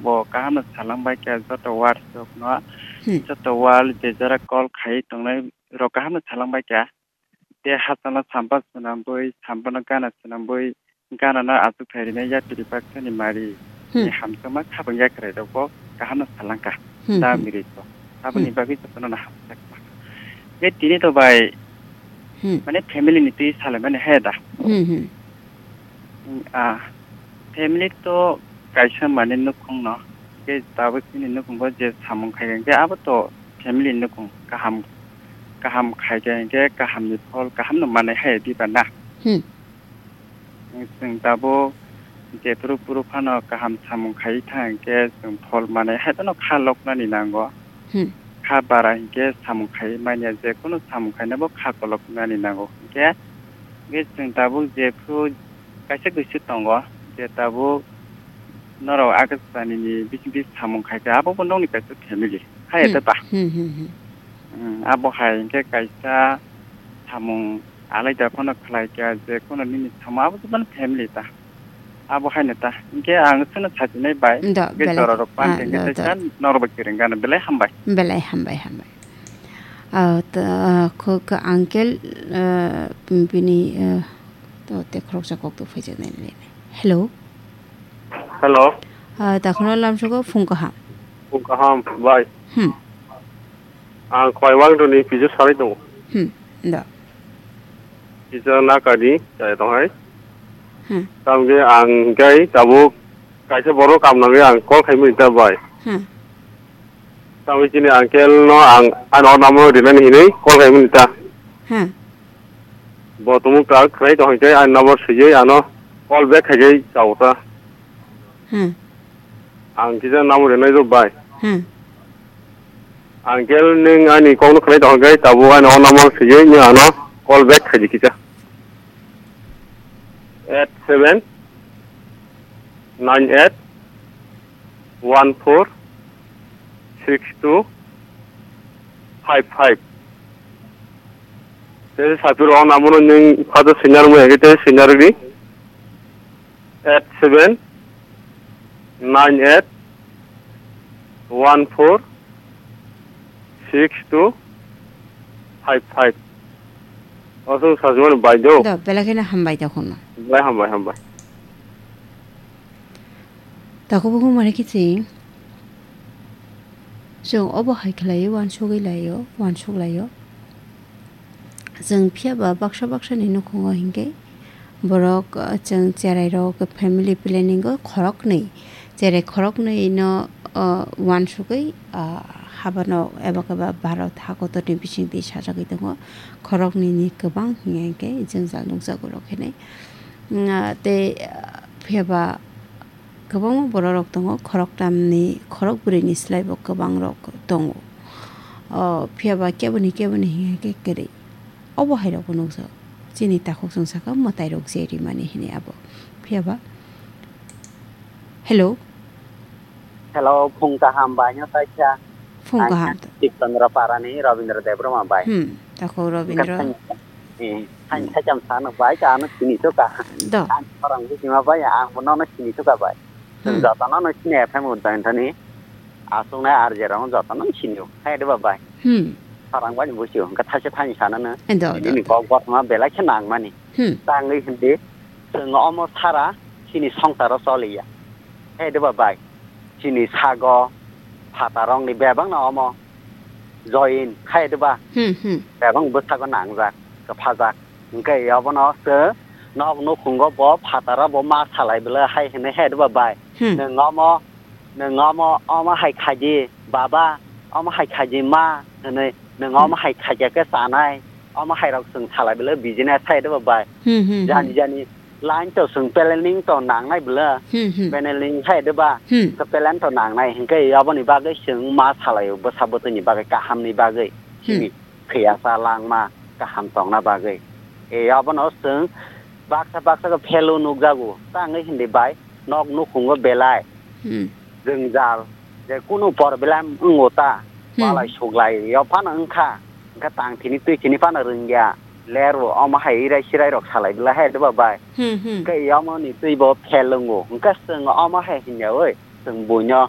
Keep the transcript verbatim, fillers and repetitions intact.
bo kaham no salang bai kha joto WhatsApp no, Hmm. joto wall je jora call khai tongnai rok kaham no salang bai kha. Te hachano sampa swnambwi, sampano gana swnambwi, ganano achuk thai rwnai yapri baksa ni mari Hmm. ni hamjakma khabang yakrai rok bo kaham no salang kha. Hmm, Da hmm. miri ko. Aboni Hmm. bagwi jotono no hamjak ma. Te tini to bai Hmm. mane family ni twi salai mani he da. Hmm, hmm. Ah, family to kaisa mane nukhung no, ke tabuk chini nukhung bo je samung khai khe abo to family nukhung kaham, kaham khai khe kaham ni phol kaham no manai hai diba na. Hmm. Chwng tabuk jephuru phuru phano kaham samung khai thang khe chwng phol manai hai no kha loknani nango. Hmm. Kha bara hinkhe samung khai manya, je kunu samung khaina bo kha kolok nani nango. Hinkhe, hinkhe chwng tabuk jephru kaisa kaisa tongo, je tabuk norok Agastani ni bising bising samung khai kha, abo bo nokni kaisa family. Hai Hmm. ete ta. Hmm, hmm, hmm. Hmm, abo hai hinkhe kaisa samung alaida phano khlai kha, je kunu nini samung abo bo family ta. Abo haino ta. Hinkhe ang chwngno sajinai bai. Do, Hinkhe belai. Jorarok pan Ah, hinkhe do, do. Kaisa norok bai kwrwng gana belai hambai. Belai hambai, hambai. Ah, ta, ah, kho, kho, uncle, ah, bini, ah, to te khoroksa kok to phaijaknai le. Hello. Hello. Ah, takhwno lamsogo phung kaham. Phung kaham, bai. Hmm. Ang Khwaiwang Doni pizza salai tongo. Hmm, do. Pizza nakadi, chai tonghai. Hmm. Tamge ang gai tabuk kaisa borok kam nangwi ang call khaimani ta bai. Hmm. Tamwi chini uncle no ang, ano number rinani hinwi call khaimani ta. Hmm. Bo tumung ta khwlai tong hwnkhe ani number swiwi ano call back khaijai chao ta. Hmm. Ang kisa number rinai rw bai. Hmm. Uncle nwng ani kokno khwlai tong hwnkhe tabuk ani o number swiwi nwng ano call back khaidi kisa. Eight seven nine eight one four six two five five. Tei sapir o number nwng father senior mo ege tei senior di. Eight seven nine eight one four six two five five. Aswk sajwkmani bai do. Do, belai kheno hambai tongkhono. Belai hambai, hambai. Takhuk bukhuk mani kiching. Chwng obo hai khlaiwi uansugwi laio, uansuk laio. Chwng phiya ba baksa baksa ni nukhungo hinkhe borok, uh, chwng cherai rok family planning o khoroknwi, cherai khoroknwi no, uh, uansugwi, uh, habano eba keba Bharat hakotor ni bisingtwi sajagwi tongo. Khoroknwi ni kwbang hinkhe jwngjal nukjago rok hinwi. Uh, tei, uh, phiya ba Kwbangma bororok tongo, khoroktamni, khorokbwrwini slaibo kwbangrok tongo. O, phiya ba keboni, keboni hinkhe kwrwi. Obo hairokbo nukjago. Chini takhuk chwng sakha mwtairok je rimani hinwi abo. Phiya ba, hello? Hello, phung kaham bai no kaisa. Phung kaham. Ang Tipchandra Parani Rabindra Debbarma bai. Hmm, takhuk Rabindra. Ang thani thani thani thani sano bai ka ano sini to ka. Do. Ang orang bu sima bai ang bo nono sini to ka bai. Hmm. Joto nono sini F M un tan thani. Asung na R J rong joto nono sini. Hai de ba bai. Hmm. Orang bai bu sio ka thase thani sana na. Do, do, Ini do. Kok bot ma belai khe nang mani. Hmm. Tangwi hindi. Sung omo sara sini songtaro soliya. Hai de ba bai. Chini sago phatarokni bebakno omo join khai de ba? Hmm, hmm. Bebak bwsago nangjak, kwphajak. Hwnkhe obono se nok nukhungo bo phataro bo ma salai bwle hai hwnwi hai de ba bai? Hmm. Nwng omo, nwng omo, omo hai khaidi baba, omo hai khaidi ma hwnwi nwng omo Hmm. hai khaidi khe chanai. Omo hai rok chwng salai bwle business hai de ba bai? Hmm, hmm, Jani hmm. jani line to chwng planning to nangnai bwle. Hmm, hmm. Planning hai de ba? Hmm. Khe plan to nangnai. Hinkhe aboni bagwi chwng ma salai o bwsa bwtwi ni bagwi kaham ni bagwi. Hmm. Chini khiyasa langma kaham tongna bagwi. E abono chwng baksa baksa khe value nukjago. Tangwi hindi bai nok nukhungo belai. Hmm. Jwngjal, je kunu problem wngo ta, Hmm. balai suglai yo phano wngkha, wngkha tang thini twi thini phano rwngya, lerbo omo hai irai sirai rok salai bwla hai de ba bai. Hmm, hmm. Hwnkhe omo ni twi bo fail wngo, hwnkhe chwng omo hai hinyawi chwng buino